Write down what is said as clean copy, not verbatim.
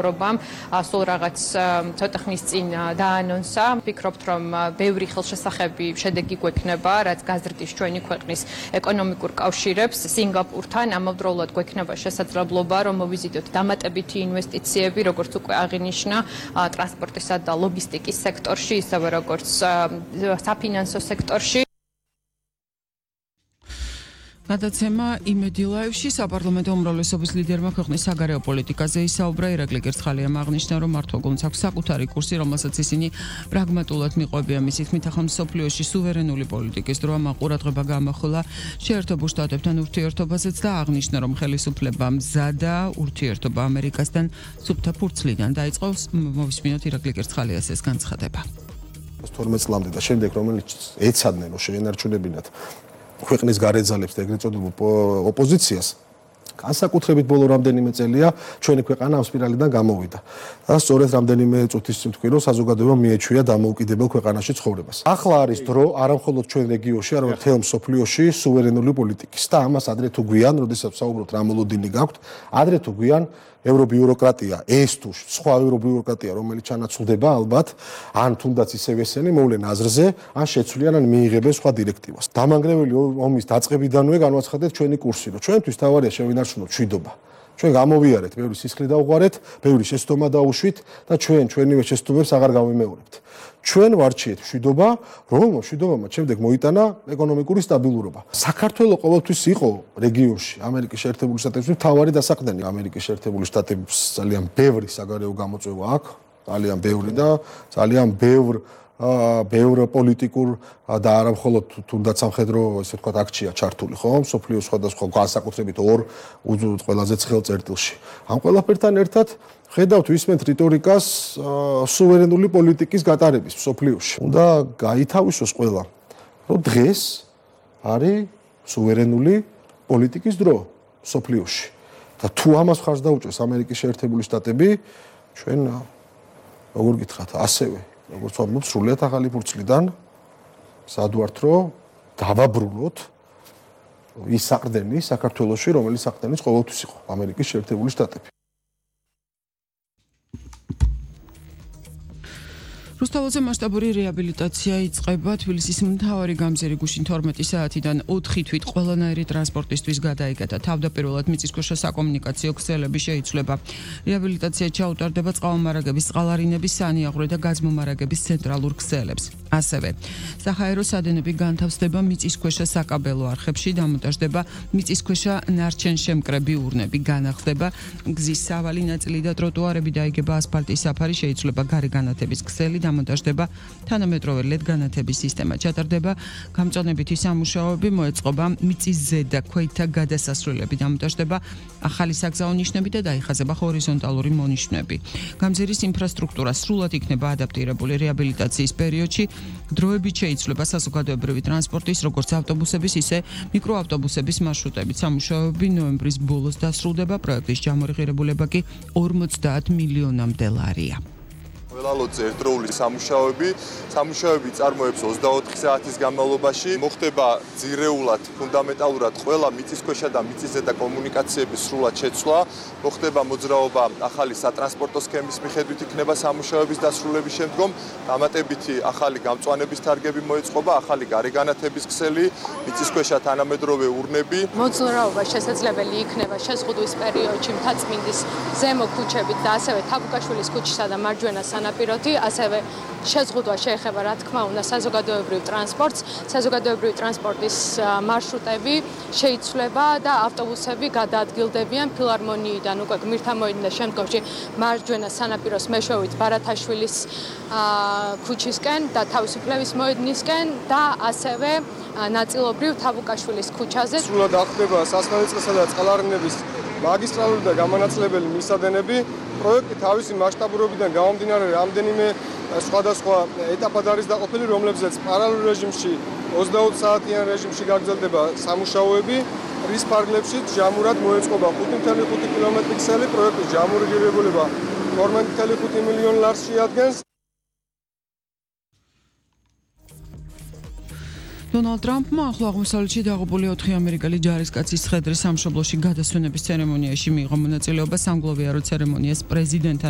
Robam, სულ რაღაც ცოტა ხნის წინ დაანონსა. ვფიქრობთ, რომ ბევრი ხელშესახები შედეგი გვექნება, რაც გაზრდის ჩვენი ქვეყნის ეკონომიკურ კავშირებს სინგაპურთან. ამავდროულად გვექნება შესაძლებლობა, რომ მოვიზიტოთ დამატებითი ინვესტიციები, როგორც უკვე აღინიშნა, ტრანსპორტისა და ლოგისტიკის სექტორში, ისევე როგორც საფინანსო სექტორში. გადაცემა იმედი ლაივში საპარლამენტო უმრავლესობის ლიდერმა ქვეყნის საგარეო პოლიტიკაზე ისაუბრა. ირაკლი კერცხალიამ აღნიშნა, რომ მართლმოგონს აქვს საკუთარი კურსი, რომელსაც ისინი პრაგმატულად მიყვებიან. მისი თქმით, ახლა მსოფლიოში სუვერენული პოლიტიკის დროა, ყურადღება გამახვილა შეერთებულ შტატებთან ურთიერთობაზეც და აღნიშნა, რომ ხელისუფლება მზადა ურთიერთობა ამერიკასთან სუფთა ფურცლიდან დაიწყო. მოვისმინოთ ირაკლი კერცხალიას ეს განცხადება. 12 წლამდე და შემდეგ რომელიც ეცადნენ, რომ შეენარჩუნებინათ ქვეყნის გარეძალებს და ეგრეთ წოდებულ ოპოზიციას განსაკუთრებით ბოლო რამდენიმე წელია ჩვენი ქვეყანა ამ სპირალიდან გამოვიდა და სწორედ რამდენიმე წუთის წინ თქვი რომ საზოგადოებამ მიეჩვია დამოუკიდებელ ქვეყანაში ცხოვრებას. ახლა არის დრო არა მხოლოდ ჩვენ რეგიონში, არამედ მთელ მსოფლიოში სუვერენული პოლიტიკის და ამას ადრე თუ გვიან, როდესაც საუბრობთ რა მოლოდინი გაქვთ, ადრე თუ გვიან ევრობიუროკრატია, ეს თუ სხვა ევრობიუროკრატია, რომელიც ჩანაცვლდება ალბათ, ან თუნდაც ისევ ესენი მოვლენ აზრზე, ან შეცვლიან, ან მიიღებენ სხვა დირექტივას. დამანგრეველი ომის დაწყებიდანვე განვაცხადეთ ჩვენი კურსი, რომ ჩვენთვის თავარია შევინარჩუნოთ მშვიდობა. ჩვენ გამოვიარეთ, ბევრი სისხლი დავუყარეთ, ბევრი შეცდომა დაუშვით და ჩვენივე შეცდომებს აღარ გავიმეორებთ. ჩვენ ვარჩიეთ მშვიდობა, რომ მშვიდობამ შემდეგ მოიტანა ეკონომიკური სტაბილურობა. საქართველოს ყოველთვის იყო რეგიონში, ამერიკის შეერთებული შტატებში მთავარი დასაყრდენი. ამერიკის შეერთებული შტატების ძალიან ბევრი საგარეო გამოწვევა აქვს, ძალიან ბევრი და ძალიან ბევრ პოლიტიკურ და არა მხოლოდ თუნდაც სამხედრო, ესე ვთქვათ, აქცია ჩართული, ხო? მსოფლიოს სხვადასხვა განსაკუთრებით ორ ყველაზე ცხელ წერტილში. ამ ყველაფერთან ერთად ხედავთ ვისმენთ რიტორიკას სუვერენული პოლიტიკის გატარების მსოფლიოში. უნდა გაითავისოს ყველა, რომ დღეს არის სუვერენული პოლიტიკის დრო მსოფლიოში. და თუ ამას ხარს დაუჭერს ამერიკის შეერთებული შტატები, ჩვენ როგორ გითხრათ, ასევე როგორც ვამბობ, სრულიად ახალი ფურცლიდან სად ვართ, რომ დავაბრუნოთ ის საყრდენი საქართველოში, რომელიც საყრდენის ყოველთვის იყო ამერიკის შეერთებული შტატები. რუსთაველზე მასშტაბური რეაბილიტაცია იწყება. თბილისის მთავარი გამზირი გუშინ 12 საათიდან 4 თვით ყველანაირი ტრანსპორტისთვის გადაიკეთა. თავდაპირველად მიწისქვეშა საკომუნიკაციო ქსელები შეიცვლება. რეაბილიტაცია ჩაუტარდება წყალმომარაგების, წყალარინების, სანიაღვრე და გაზმომარაგების ცენტრალურ ქსელებს. ასევე საჰაერო სადენები განთავსდება მიწისქვეშა საკაბელო არხებში, დამონტაჟდება მიწისქვეშა ნარჩენშემკრები ურნები, განახლდება გზის სავალი ნაწილი და ტროტუარები, დაიგება ასფალტის საფარი, შეიცვლება გარე განათების ქსელი, დამონტაჟდება თანამედროვე LED განათების სისტემა, ჩატარდება გამწონებითი სამუშაოები, მოეწყობა მიწის ზედა ქვეითთა გადასასვლელები, დამონტაჟდება ახალი საგზაო ნიშნები და დაიხაზება ჰორიზონტალური მონიშნები. გამზირის ინფრასტრუქტურა სრულად იქნება ადაპტირებული რეაბილიტაციის პერიოდში. დროებით შეიცვლება საზოგადოებრივი ტრანსპორტის, როგორც ავტობუსების, ისე მიკროავტობუსების მარშრუტებით. სამუშაოები ნოემბრის ბოლოს დასრულდება. პროექტის ჯამორღირებულება კი 50 მილიონამდე ლარია. ველალოძე ერთდროული სამუშაოები წარმოებს 24 საათის განმავლობაში. მოხდება ძირეულად, ფუნდამენტალურად ყველა მიწისქვეშა და მიწისზედა კომუნიკაციების სრულად შეცვლა. მოხდება მოძრაობა ახალი სატრანსპორტო სქემის მიხედვით იქნება სამუშაოების დასრულების შემდგომ. დამატებითი ახალი გამწვანების თარგები მოეწყობა, ახალი გარეგანათების ქსელი, მიწისქვეშა თანამედროვე ურნები. მოძრაობა შესაძლებელი იქნება შეზღუდვის პერიოდში მთაწმინდის ზემო ქუჩებით და ასევე თაბუკაშვილის ქუჩისა და მარჯვენა სანაპიროთი, ასევე შეზღუდვა შეეხება, რა თქმა უნდა, საზოგადოებრივ ტრანსპორტს. საზოგადოებრივი ტრანსპორტის მარშრუტები შეიცვლება და ავტობუსები გადაადგილდებიან ფილარმონიიდან უკვე გმირთა მოედნიდან და შემდგომში მარჯვენა სანაპიროს მეშვეობით ბარათაშვილის ქუჩისკენ და თავისუფლების მოედნისკენ და ასევე ნაწილობრივ თაბუკაშვილის ქუჩაზე. სრულად ახდება სასმელწყლისა და წყალარინების მაგისტრალური და გამანაცვლებელი მისადენები. პროექტი თავისი მასშტაბურობიდან გამომდინარე რამდენიმე სხვადასხვა ეტაპად არის დაყოფილი, რომლებზეც პარალელურ რეჟიმში 20 საათიან რეჟიმში გაგრძელდება სამუშაოები. რის ფარგლებში ჯამურად მოეწყობა 5.5 კილომეტრი ქსელი. პროექტის ჯამურღირებულება 12.5 მილიონ ლარს შეადგენს. დონალდ ტრამპმა ახლო აღმოსავლეთში დაღუპული 4 ამერიკელი ჯარისკაცის ცხედრის სამშობლოში გადასვენების ცერემონიაში მიიღო მონაწილეობა. სამგლოვიარო ცერემონიას პრეზიდენტთან